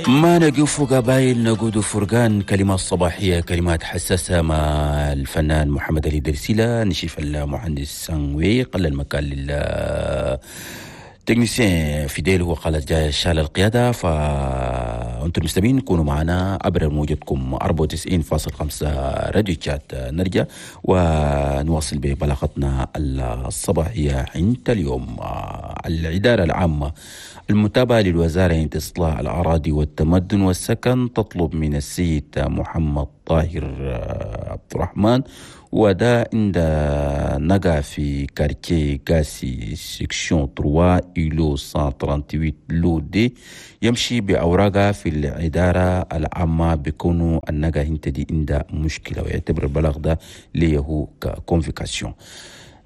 ما نقف قبايل نقود فرقان. كلمات صباحية، كلمات حساسة مع الفنان محمد علي درسيلة، نشيف المهندس سانوي، قل المكان لل technicien فيديل، هو قال جاي شال القيادة. فأنتم المستمعين كونوا معنا عبر موجتكم 94.5 راديو تشات. نرجع ونواصل ببلاغتنا الصباحية عند اليوم. الإدارة العامة المتابعة للوزارة إصلاح الأراضي والتمدن والسكن تطلب من السيد محمد طاهر عبد الرحمن، وده عند نقع في quartier قاسي section 3 îlot 138 lot D، يمشي بأوراقها في الإدارة العامة بكونه النقا انت دي عندها مشكلة، ويعتبر البلاغ ده ليه ك convocation.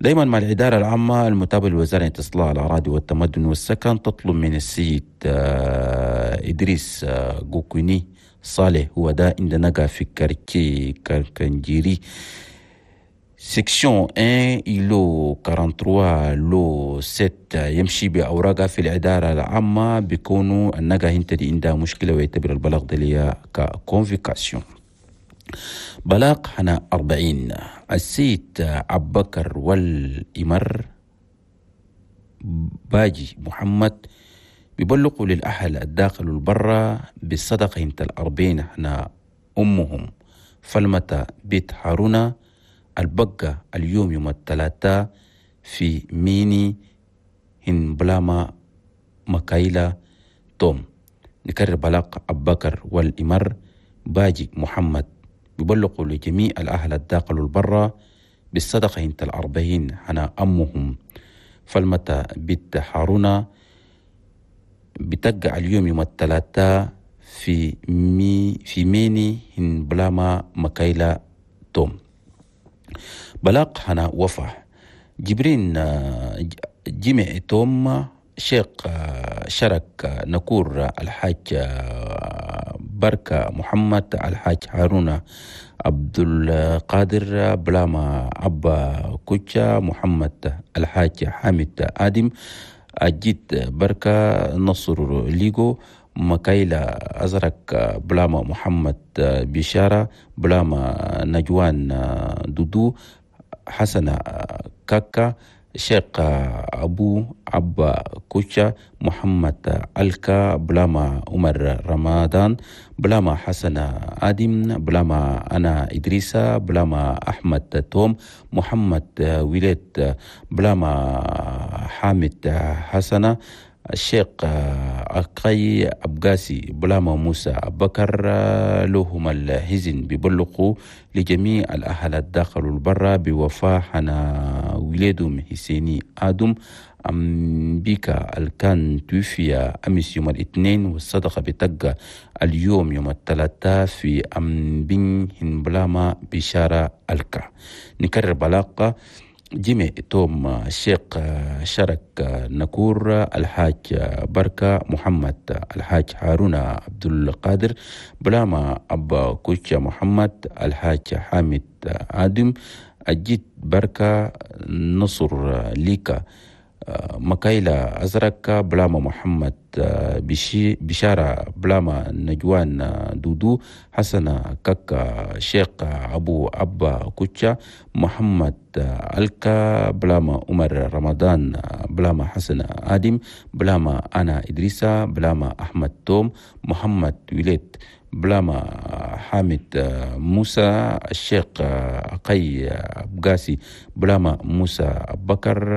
دايما مع الإدارة العامة المتابعة لوزارة إصلاح الأراضي والتمدن والسكن تطلب من السيد إدريس غوكوني صالح، هو ده عند نقا في quartier كانجيري section 1 îlot 43 lot 7، يمشي بأوراقها في الإدارة العامة بيكونوا النقا انت دي عندها مشكلة، ويعتبر البلاغ ده ليها ك convocation. بلاغ هنا 40، السيد عبكر والإمر باجي محمد بيبلغوا للأهل الداخل والبرة بالصدقة انت 40 هنا أمهم فلمة بيت هارونا البقة اليوم يوم الثلاثاء في ميني هن بلاما مكايلا توم. نكرر بلاغ أبكر والإمر باجي محمد بيبلغوا لجميع الأهل الداخل والبرة بالصدقة انت 40 هنا أمهم فلمة بيت هارونا بتقع اليوم يوم الثلاثاء في ميني هن بلاما مكايلا توم. بلاغ هنا وفا جبرين جمع توم شيخ شرك نكور الحاج بركة محمد الحاج هارون عبد القادر بلاما أبا كوتشا محمد الحاج حامد آدم أجيت بركة نصر ليغو مكايلا أزرق بلاما محمد بشارة بلاما نجوان دودو حسن كاكا شيخ أبو أبا كوتشا محمد ألكا بلاما عمر رمضان بلاما حسن آدم بلاما أنا إدريسة بلاما أحمد توم محمد وليد بلاما حامد حسن الشيخ أقاي أبقاسي بلاما موسى بكر. لهم الحزن بيبلغوا لجميع الأهل الداخل والبرة بوفاة حنا ولادهم حسيني آدم أمبيكا الكان توفي أمس يوم الاثنين، والصدقة بتقى اليوم يوم الثلاثاء في أمبين هنبلاما بشارة الكا. نكرر بلاقة جيمي توم الشيخ شرك نكور الحاج بركة محمد الحاج هارون عبد القادر بلاما أبا كوتشا محمد الحاج حامد آدم أجيت بركة نصر ليكا مكايلا أزرق بلاما محمد بشارة بلاما نجوان دودو حسن كاكا شيخ أبو أبا كوتشا محمد ألكا بلاما عمر رمضان بلاما حسن آدم بلاما أنا إدريسة بلاما أحمد توم محمد وليد بلاما حامد موسى الشيخ أقي أبقاسي بلاما موسى بكر.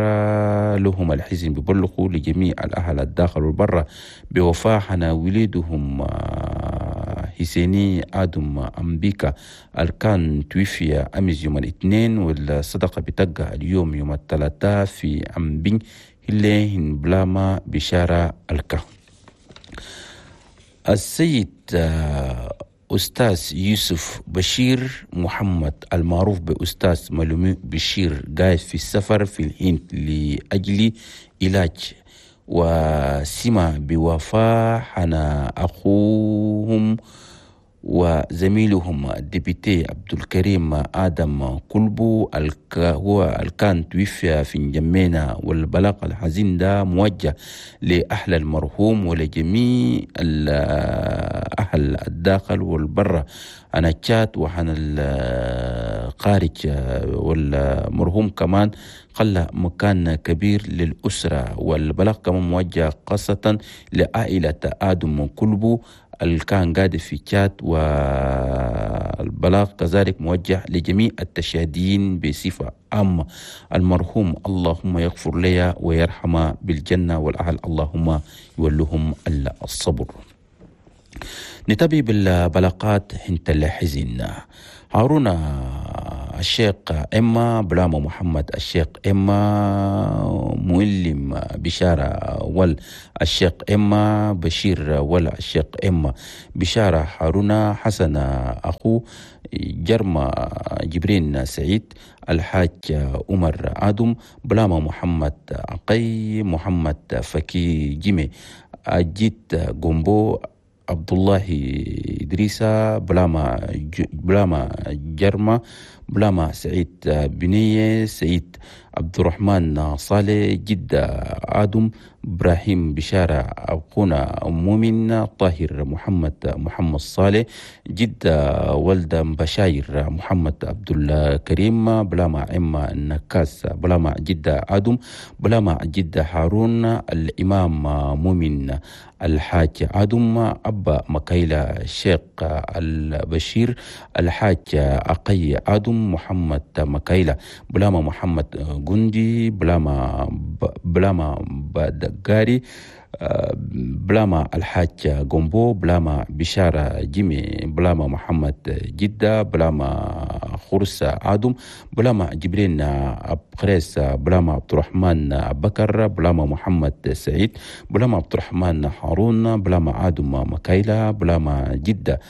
لهم الحزن ببلغوا لجميع الأهل الداخل والبرة بوفاة حنا وليدهم حسيني آدم أمبيكا الكان توفي أمس يوم الاثنين، والصدقة بتقع اليوم يوم الثلاثاء في أمبين هلين بلاما بشارة الكا. السيد أستاذ يوسف بشير محمد المعروف بأستاذ ملومي بشير قاعد في السفر في الهند لأجل علاج، وسمع بوفاة حنا أخوهم وزميلهم ال député عبد الكريم آدم كلبو هو الكان توفي في جمينة. والبلاغ الحزين ده موجه لأهل المرحوم ولجميع الأهل الداخل والبرة أنا تشات وحنا الخارج، والمرحوم كمان خلى مكان كبير للأسرة. والبلاغ كمان موجه خاصة لعائلة آدم كلبو اللي كان قاعد في تشات، والبلاغ كذلك موجه لجميع التشاديين بصفة عامة. المرحوم اللهم يغفر لي ويرحمه بالجنة، والأهل اللهم يولهم الصبر. نتابع بالبلاغات حنت الحزن. هارون الشيخ إما بلاما محمد الشيخ إما مؤلم بشارة وال الشيخ إما بشير ولا الشيخ إما بشارة هارون حسن أخو جرمى جبرين سعيد الحاج عمر آدم بلاما محمد عقي محمد فكي جيمي أجيت جومبو عبد الله إدريسة بلاما جرمى بلاما سعيد بنية سعيد عبد الرحمن صالح جدة آدم إبراهيم بشارة أبقونا مؤمن طاهر محمد صالح جدة ولد بشاير محمد عبد الكريم بلاما عمة النكاس بلاما جدة آدم بلاما جدة هارون الإمام مؤمن الحاج آدم أبا مكايلة الشيخ البشير الحاج أقي آدم محمد مكايلة بلاما محمد جندي بلاما بدقاري بلاما الحاج جومبو بلاما بشارة جيمي بلاما محمد جدة بلاما خرسة آدم بلاما جبرين أبخريس بلاما عبد الرحمن بكر بلاما محمد سعيد بلاما عبد الرحمن هارون بلاما آدم مكايلة بلاما جدة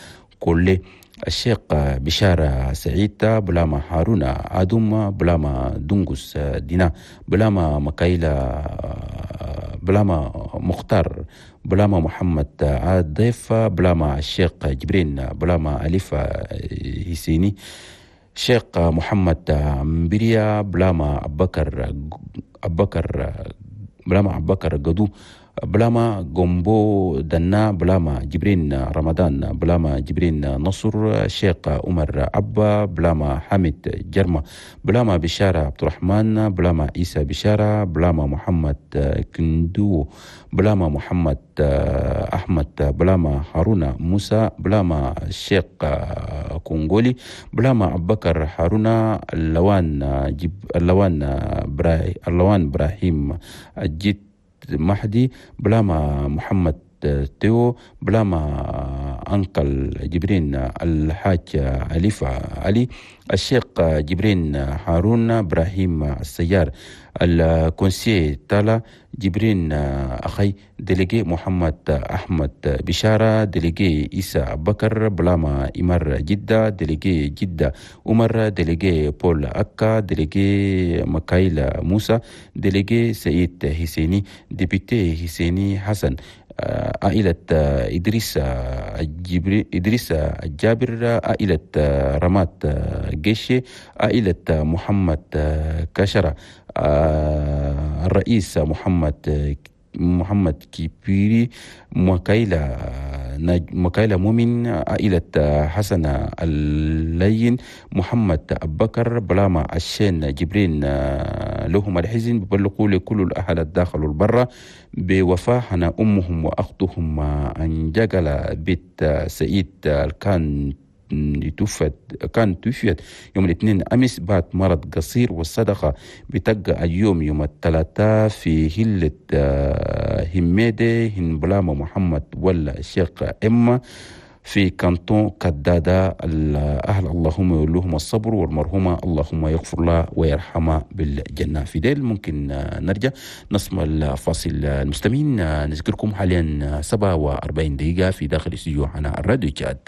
كله الشيخ بشارة سعيد بلاما هارون آدم بلاما دنقس دينا بلاما مكايلة بلاما مختار بلاما محمد ضيف بلاما الشيخ جبرين بلاما أليفة هسيني شيخ محمد مبريا بلاما أبكر بلاما أبكر قدو بلاما جومبو دنا بلاما جبرين رمضان بلاما جبرين نصر شيخ عمر أبا بلاما حامد جرمة بلاما بشارة عبد الرحمن بلاما عيسى بشارة بلاما محمد كندو بلاما محمد أحمد بلاما هارون موسى بلاما الشيخ كونغولي بلاما أبكر هارون اللوان إبراهيم الجيت مهدي بلاما محمد تيو بلاما أنكل جبرين الحاج أليفة علي الشيخ جبرين هارون إبراهيم السيار ال conseiller تالا جبرين أخي délégué محمد أحمد بشارة délégué إيسى بكر بلاما إمر جدة délégué جدة عمر délégué بول أكا délégué مكايل موسى délégué سعيد حسيني député حسيني حسن عائلة إدريس إدريس الجابر عائلة رمات جيشي عائلة محمد كشرة الرئيس محمد كيبيري مكايلة مؤمن عائلة حسن اللين محمد أبكر بلاما الشين جبرين لهم الحزن ببلغوا لكل الأهل الداخل والبرة بوفاة حنا أمهم وأختهم أنجقل بيت سعيد كان توفيت يوم الاثنين أمس بعد مرض قصير، والصدقة بتبقى اليوم يوم الثلاثاء في هلة هميدة هنبلاما محمد ولا الشيخ إما في كانتون كدادة. الأهل اللهم يولوهم الصبر، والمرحومة اللهم يغفر لها ويرحمها بالجنة. في ديل ممكن نرجع نسمع الفاصل. المستمعين نذكركم حاليا 47 دقيقة في داخل استوديو على الراديو تشاد.